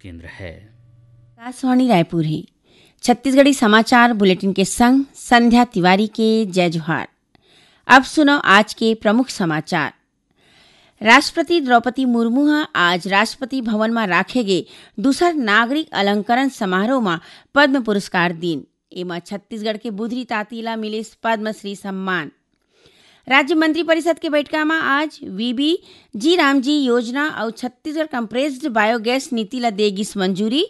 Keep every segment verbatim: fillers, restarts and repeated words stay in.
केंद्र है। आकाशवाणी रायपुर है। छत्तीसगढ़ी समाचार बुलेटिन के संग संध्या तिवारी के जय जोहार। अब सुनो आज के प्रमुख समाचार। राष्ट्रपति द्रौपदी मुर्मू ह आज राष्ट्रपति भवन म राखे गे दूसर नागरिक अलंकरण समारोह म पद्म पुरस्कार दीन। एमा छत्तीसगढ़ के बुधरी ताती ला मिलिस पद्मश्री सम्मान। राज्य मंत्रिपरिषद के बैठका म आज वीबी जी रामजी योजना अउ छत्तीसगढ़ कंप्रेस्ड बायोगैस नीति ला दे गिस मंजूरी।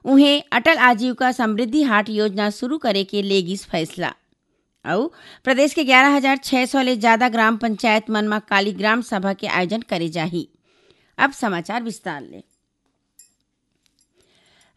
उहें, अटल आजीविका समृद्धि हाट योजना शुरू करे के ले गिस फैसला। अउ प्रदेश के ग्यारह हजार छह सौ ले जादा ग्राम पंचायत मन म काली ग्राम सभा के आयोजन करे जाही। अब समाचार विस्तार ले।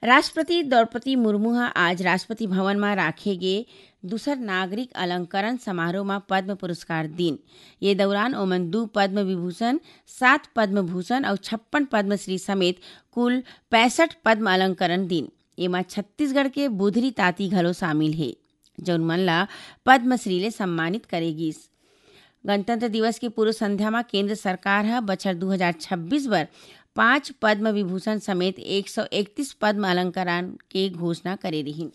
राष्ट्रपति द्रौपदी मुर्मू ह आज राष्ट्रपति भवन म राखे गे दूसर नागरिक अलंकरण समारोह म पद्म पुरस्कार दीन। ये दौरान ओमन दू पद्म विभूषण, सात पद्म भूषण अउ छप्पन पद्मश्री समेत कुल पैंसठ पद्म अलंकरण दीन। एमा छत्तीसगढ़ के बुधरी ताती घलो शामिल हे, जउन मन ला पद्मश्री ले सम्मानित करे गिस। गणतंत्र दिवस के पूर्व संध्या म केंद्र सरकार ह बछर दू हजार छब्बीस बर पांच पद्म विभूषण समेत एक सौ इकतीस पद्म अलंकरण के घोषणा करे रिहिन।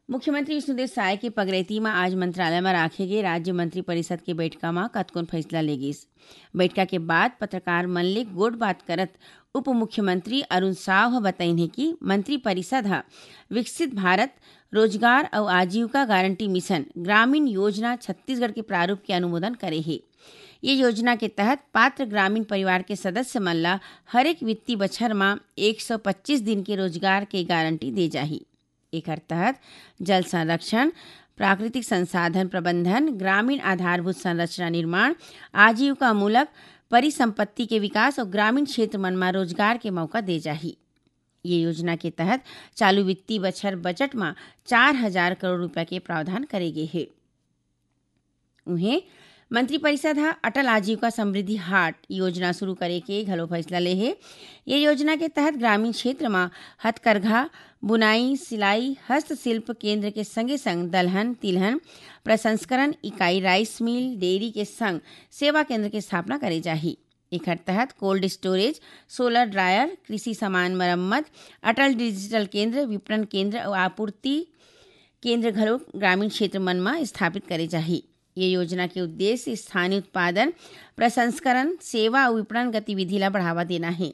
मुख्यमंत्री विष्णुदेव साय के पगरैती म आज मंत्रालय म राखे गे राज्य मंत्रिपरिषद के बैठका म कतकोन फैसला ले गिस। बैठका के बाद पत्रकार मन ले गोठबात करत उप मुख्यमंत्री अरुण साव ह बतईन हे कि मंत्रिपरिषद ह विकसित भारत, रोजगार अउ आजीविका गारंटी मिशन ग्रामीण योजना छत्तीसगढ़ के प्रारूप के अनुमोदन करे हे। ये योजना के तहत पात्र ग्रामीण परिवार के सदस्य मन ल हरेक वित्तीय बछर म एक सौ पच्चीस दिन के रोजगार के गारंटी दे जाही। एखर तहत जल संरक्षण, प्राकृतिक संसाधन प्रबंधन, ग्रामीण आधारभूत संरचना निर्माण, आजीविकामूलक परिसंपत्ति के विकास अउ ग्रामीण क्षेत्र मन म रोजगार के मौका दे जाही। ये योजना के तहत चालू वित्तीय बछर बजट म चार हजार करोड़ रुपया के प्रावधान करे गे हे। उहें, मंत्रिपरिषद ह अटल आजीविका समृद्धि हाट योजना शुरू करे के घलो फैसला ले हे। ये योजना के तहत ग्रामीण क्षेत्र म हथकरघा, बुनाई, सिलाई, हस्तशिल्प केंद्र के संगे संग दलहन, तिलहन प्रसंस्करण इकाई, राइस मिल, डेयरी के संग सेवा केंद्र के स्थापना करे जाही। एखर तहत कोल्ड स्टोरेज, सोलर ड्रायर, कृषि सामान मरम्मत, अटल डिजिटल केंद्र, विपणन केंद्र अउ आपूर्ति केंद्र घलो ग्रामीण क्षेत्र मन म स्थापित करे जाही। ये योजना के उद्देश्य स्थानीय उत्पादन, प्रसंस्करण, सेवा अउ विपणन गतिविधि ला बढ़ावा देना हे।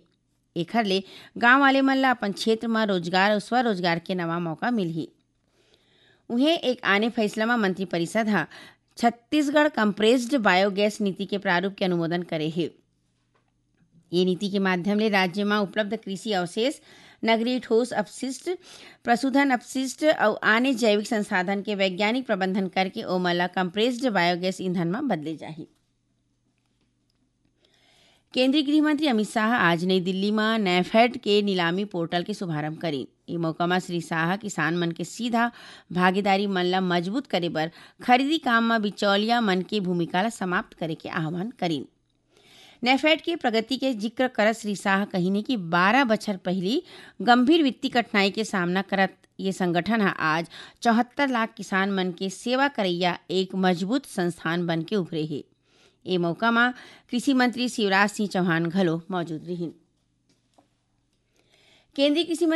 एखर ले गांव वाले मन ला अपन क्षेत्र म रोजगार अउ स्वरोजगार के नवा मौका मिलही। उहें, एक आने फैसला म मंत्रिपरिषद ह छत्तीसगढ़ कंप्रेस्ड बायोगैस नीति के प्रारूप के अनुमोदन करे हे। ये नीति के माध्यम ले राज्य म उपलब्ध कृषि अवशेष, नगरीय ठोस अपशिष्ट, पशुधन अपशिष्ट अउ आने जैविक संसाधन के वैज्ञानिक प्रबंधन करके ओमन ला कंप्रेस्ड बायोगैस ईंधन म बदले जाही। केंद्रीय गृह मंत्री अमित शाह आज नई दिल्ली म नैफेड के नीलामी पोर्टल के शुभारंभ करीन। ए मौका म श्री शाह किसान मन के सीधा भागीदारी मन ला मजबूत करे बर खरीदी काम म बिचौलिया मन के भूमिका ला समाप्त करे के आह्वान करीन। नैफेड के प्रगति के जिक्र करत श्री शाह कहिन कि बारह बछर पहिली गंभीर वित्तीय कठिनाई के सामना करत ये संगठन ह आज चौहत्तर लाख किसान मन के सेवा करइया एक मजबूत संस्थान बन के उभरे हे। ए मौका म कृषि मंत्री शिवराज सिंह चौहान घलो मौजूद रिहिन। केंद्रीय कृषि मंत्री